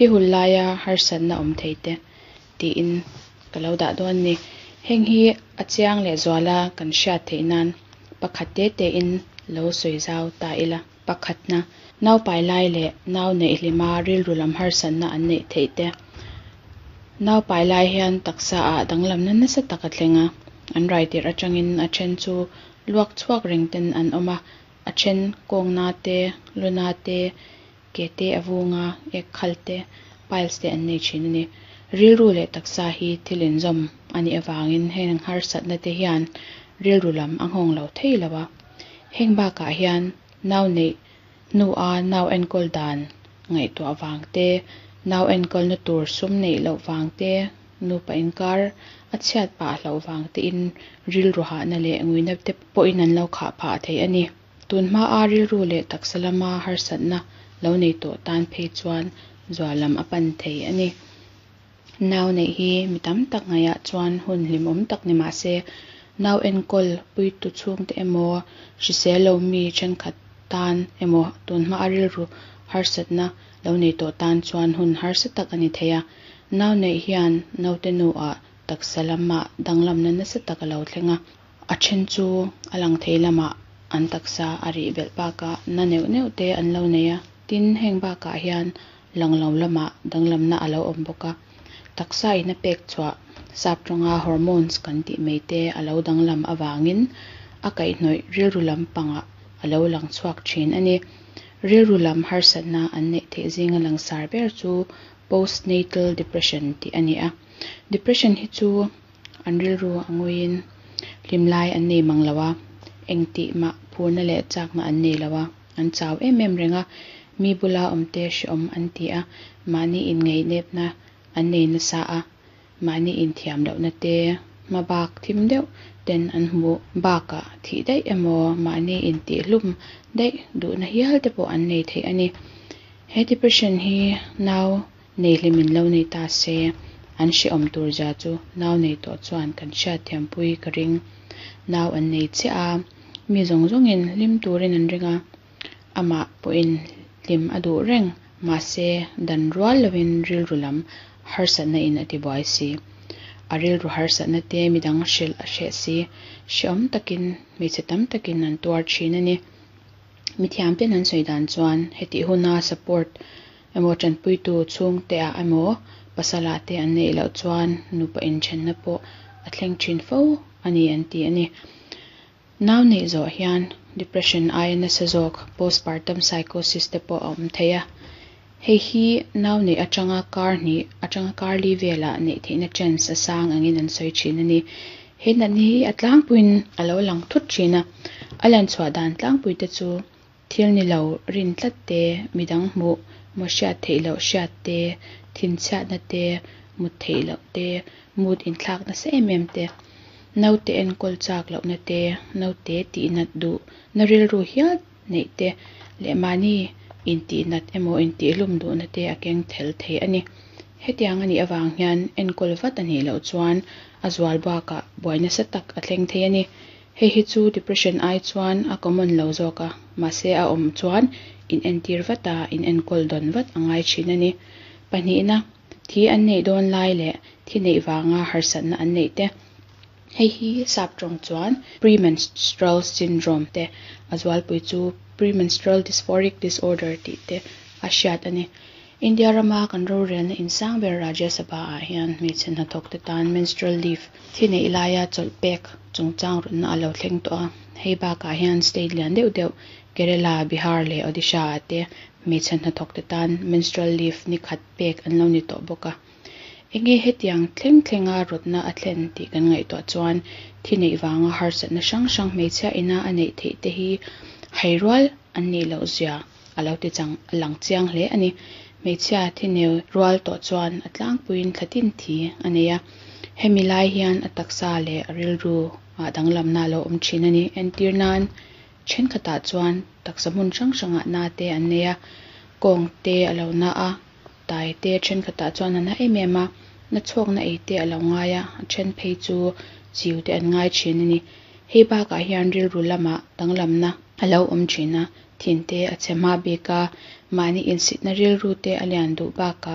Thi hul laia harsatna awm thei te tiin ka lo dah dawn a ni. Heng hi a chiang leh zuala kan hriat theih nan pakhat te tein lo sawi zau ta ila. Pakhatna, naupai lai leh nau neih hlima rilru lam harsatna an neih theih te. Naupai lai hian taksa ah danglamna nasa tak a thleng a, an rai tirh atangin a then chu luak chhuak reng ten an awm a, a then kawngna te, luna te, ke te a vung a, ek khal te, piles te an nei thin a ni. Rilru leh taksa hi thil inzawm a nih avangin heng harsatna te hian rilru lam a nghawng lo thei lo a. Heng bakah hian nau neih hnua nau enkawl dan ngaihtuah vang te, nau enkawlna tur sum neih loh vang te, nupa inkar a chhiat pah hlauh vang tein rilru hahna leh nguina te pawhin an lo khah phah thei a ni. Tun hmaa rilru leh taksa lama harsatna lo nei tawh tan phei chuan zual lam a pan thei a ni. Nau neih hi mi tam tak ngaihah chuan hun hlimawm tak ni mah se, nau enkawl puitu chhungte emaw, hrisel lo mi thenkhat tan emaw tun hmaa rilru harsatna lo nei tawh tan chuan hun harsa tak a ni thei a. Nau neih hian naute nuah taksa lamah danglamna nasa tak a lo thleng a, a then chu a lang thei lamah an taksa a rih belh bakah na neuh neuh te an lo nei a. Tin, heng bakah hian lang lo lamah danglamna a lo awm bawk a, taksa in a pek chhuah sap tawnga hormones kan tih mai te a lo danglam avangin a kaihhnawih rilru lampangah a lo lang chhuak thin a ni. Rilru lam harsatna an neih theih zinga langsar ber chu postnatal depression tih a ni a. Depression hi chu an rilru a nguiin hlim lai an nei mang lo a, engtih mah phurna leh chakna an nei lo a, an chau em em reng a, mi bula awmte hrehawm an ti a, mahni inngainepna an nei nasa a, mahni inthiam lohna te hmabak thim deuh ten an hmuh bakah thih daih emaw mahni intihhlum daih duhna hial te pawh an nei thei a ni. He depression hi nau nei hlimin lo nei ta se, an hrehawm tur zia chu nau nei tawh chuan kan hriatthiampui ka ring. Nau an nei chiah a, mi zawng zawngin hlim turin an ring a, amah pawhin hlim a duh reng, mahse dan rual lovin rilru lam harsatna in a tibuai si. A rilru harsatna te midang hrilh a hreh si, hrehawm takin hmeichhe tam takin an tuar thin a ni. Mithiam ten an sawi dan chuan hetih huna support emaw tanpuitu chhungte ah emaw pasal ah te an neih loh chuan nupa inthenna pawh a thleng thin fo a ni an ti a ni. Nau neih zawh hian depression aia nasa zawk postpartum psychosis te pawh a awm thei a. Hei hi nau neih atanga kar hnih atanga kar li velah neih theihna chance a sang angin an sawi thin a ni. He natna hi a tlangpuiin a lo lang thut thin a, a lan chhuah dan tlangpui te chu thil ni lo rin tlat te, midang hmuh maw hriat theih loh hriat te, thinchhiatna te, mut theih loh te, mood inthlak nasa em em te, naute enkawl chak lohna te, naute tihnat duh na rilru hial neih te leh mahni intihnat emaw intihlum duhna te a keng tel thei a ni. Hetiang a nih avang hian enkawl vat a nih loh chuan a zual bakah buai nasa tak a thleng thei a ni. Hei hi chu depression ai chuan a common lo zawk a, mahse a awm chuan inentir vat a, inenkawl dawn vat a ngai thin a ni. Pahnihna, thi an neih dawn lai leh thi neih vanga harsatna an neih te. Hei hi sap tawng chuan premenstrual syndrome te, a zualpui chu premenstrual dysphoric disorder tih te a hriat a ni. India rama kan rorelna insang ber Rajya Sabha ah hian hmeichhe hnathawk te tan menstrual leave thi neih laia chawlh pek chungchang rawtna a lo thleng tawh a. Hei bakah hian state lian deuh deuh Kerala, Bihar leh Odisha ah te hmeichhe hnathawk te tan menstrual leave ni khat pek an lo ni tawh bawk a. Enge hetiang thleng thlenga rawtna a thlen tih kan ngaihtuah chuan thi neih vanga harsatna hrang hrang hmeichhia ina a neih theih te hi hairual an nih loh zia a lo ti chang lang chiang hle a ni. Hmeichhia thi neu rual tawh chuan a tlangpuiin thla tin thi a nei a, hemi lai hian a taksa leh a rilru ah danglamna a lo awm thin a ni. Entir nan thenkhatah chuan taksa hmun hrang hrangah na te an nei a, kawng te a lo na a, tai te thenkhatah chuan a na em em a, na chhuakna ei te a lo ngai a, a then phei chu chiu te an ngai thin a ni. Hei bakah hian rilru lamah danglamna a lo awm thin a, thin te a chhe hma bik a, mahni insitna rilru te a lian duh bakah.